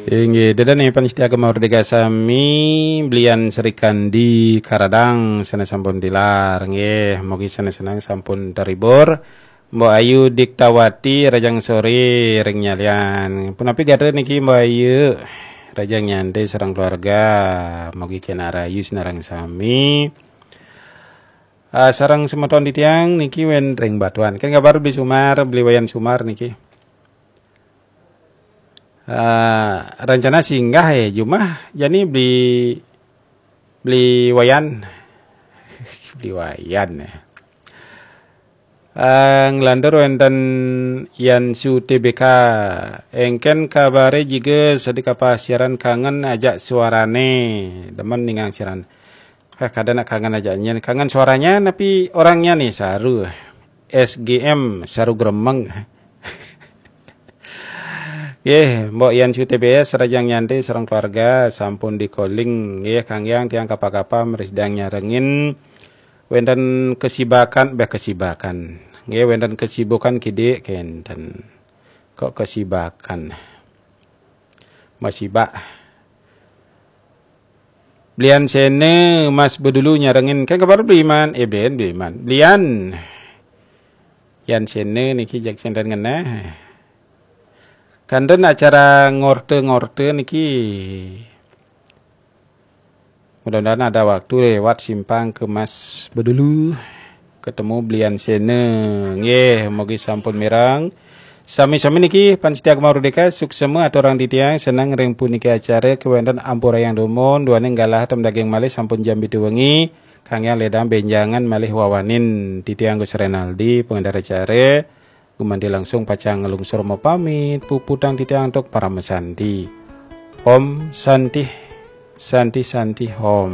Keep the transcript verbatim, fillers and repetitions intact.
Inggih, dadan nih pamiarsa Gema Merdeka sami, Blian Srikandi Karadang sané sampun tilar. Nggih, mugi sané seneng sampun terhibur. Mbok Ayu Diktawati, rahajeng soré ring Nyalian. Punapi gatra niki Mbok Ayu? Rahajeng nyantai sareng keluarga. Mugi kénak rahayu sinareng sami. Ah, sareng semeton titiang niki wénten ring Batuan. Kan kabar Bli Sumar, Bli Wayan Sumar niki. Ah, rencana singgah ya, jumah jani Bli, Bli Wayan. Bli Wayan ya. Ah, nglantur wénten Yansu T B K. Éngkén kabaré jagi sedek apa siaran, kangen ajak suarané. Demen ningang siaran. Eh, kadang nak kangen ajak nyén. Kangen suaranya, tapi orangnya nih saru. S G M, saru gremeng. Nggih, Mbok Yansu T B S, rahajeng nyantai sareng keluarga, sampun di-calling. Nggih, Kang Yang, tiang kapa-kapa mriki sedeng nyarengin. Wénten kesibakan, béh, kesibakan. Nggih, wénten kesibukan kidik kénten. Kok kesibakan? Masibak. Blian Séné, Mas Bedulu nyarengin. Kan kabar Bliman? Eh, ben Bliman. Blian. Yan Séné niki jag senten ngenah. Kanten acara ngorte-ngorte niki. Mudah-mudahan ada waktu lewat simpang ke Mas Bedulu. Ketemu Blian Séné. Nggih, mugi sampun mireng. Sami-sami niki pamiarsa Gema Merdeka, suksma aturang titiang, seneng ring puniki acara, kéwénten ampurayang dumun, duaning galah tem daging malih, sampun jam pitu wengi, Kang Yang ledang bénjangan malih wawanin, titiang Gus Renaldi, pengendara acara, gumanti langsung pacang nglungsur mapamit, puputang titiang antuk parama santi. Om Santi, Santi, Santi, Om.